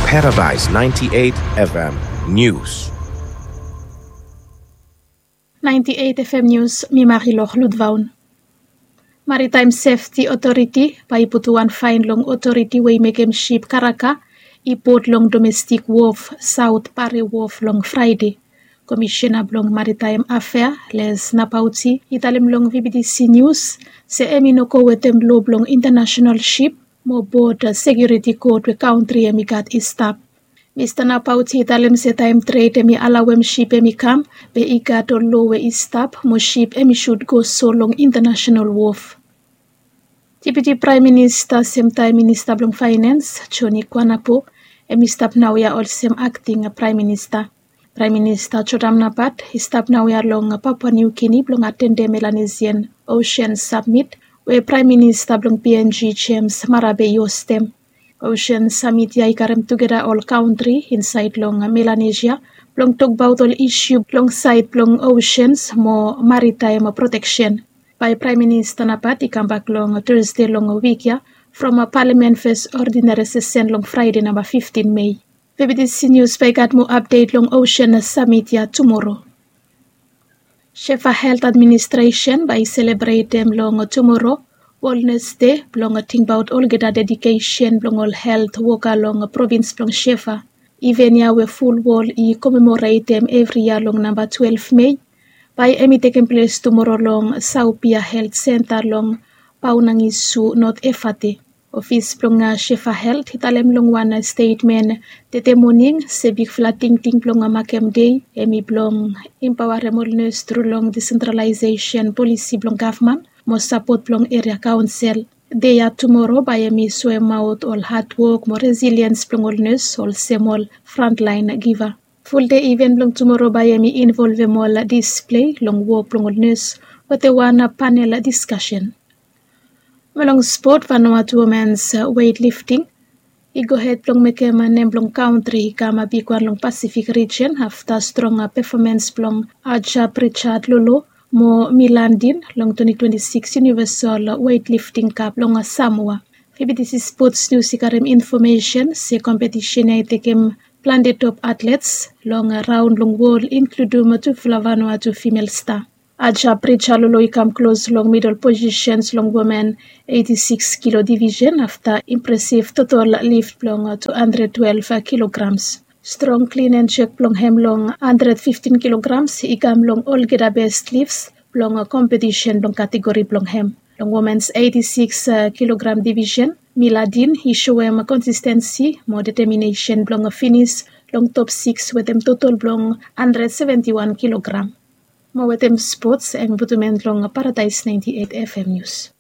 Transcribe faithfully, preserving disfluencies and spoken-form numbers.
Paradise ninety-eight F M News. Ninety-eight F M News, mi Marilor Ludvaun. Maritime Sefti Otoriti bae i putum wan faen long otoriti we i mekem sip karaka i put long domestik wof saot Pare Wof long Fraede. Komisena blong Maritaem Afea, Les Napauti, i talem long V B T C Nius se hem i no go wetem lo blong intanasenal sip mo bot sekiuriti kot we kantri hem i gat i stap. Mista Napauti i talem se taem tred hem i alawem sip hem i kam, be i gat ol lo we i stap mo sip hem i sud go so long intanasenal wof. Deputi Praem Minista semtaem Minista blong Faenens, Joni Kwanapo, hem i stap naoia olsem akting Praem Minista. Praem Minista Jodam Napat i stap naoia long Papua Niu Gini blong atendem Melanesian Osean Samit we Praem Minista blong P N G James Marape i ostem. Osean Samit ya i karem tugeta ol kantri insaed long Melanesia blong tokbaot ol isu long saed blong oseans mo maritaem proteksen. Bae Praem Minista Napat i kambak long Tasde long wik ya from Palamen fes odinari sesen long Fraede namba fiftin Mei. V B T C Nius bae i gat moa apdet long Osean Samit ya tumoro. Shefa Helt Administresen bae i selebretem long tumoro Wellness Dei blong tingbaot olgeta dedikesen blong ol helt woka long provins blong Shefa. Iven ya we ful wol i komemoretem evri yia long namba twelef Mei bae hem i tekem ples tumoro long Saopia Helt Senta long Paunangisu, Not Efate. Ofis blong Shefa Helt i talem long wan stetmen tede moning se bigfala tingting blong makem dei hem i blong impaoarem ol nes tru long disentralaesesen polisi blong gavman mo sapot blong eria kaonsel. Dei ya tumoro bae hem i soemaot ol hadwok mo resiliens blong ol nes olsem ol frantlaen giva. Fuldei iven blong tumoro bae hem i involvem ol displei long wok blong ol nes wetem wan panel diskasen. Mo long spot, Vanuatu womens weitlifting i gohed blong mekem nem blong kantri i kam bigwan long Pasifik rijen afta strong pefomens blong Aja Pritchard Lolo mo Milandin long twenty twenty-six Universal Weightlifting Cup long Samoa. V B T C Sports News i karem infomesen se kompetisen ya i tekem plante top atlets long raon long wol, inkludum tufala Vanuatu fimel sta. Aja Pritchard Lolo i kam klos long midol posisens long women eiti sikis kilo divisen afta impresiv totol lif blong tu handred twelef kilograms. Strong klin en jek blong hem long handred fiftin kilograms i kam long olgeta bes lifs blong kompetisen blong kategori blong hem. Long womens eiti sikis kilogram divisen, Miladin i soem konsistensi mo deteminesen blong finis long top sikis wetem totol blong handred seventi wan kilogram. Mo wetem spots, hem i putum en long Paradaes naenti eit F M Nius.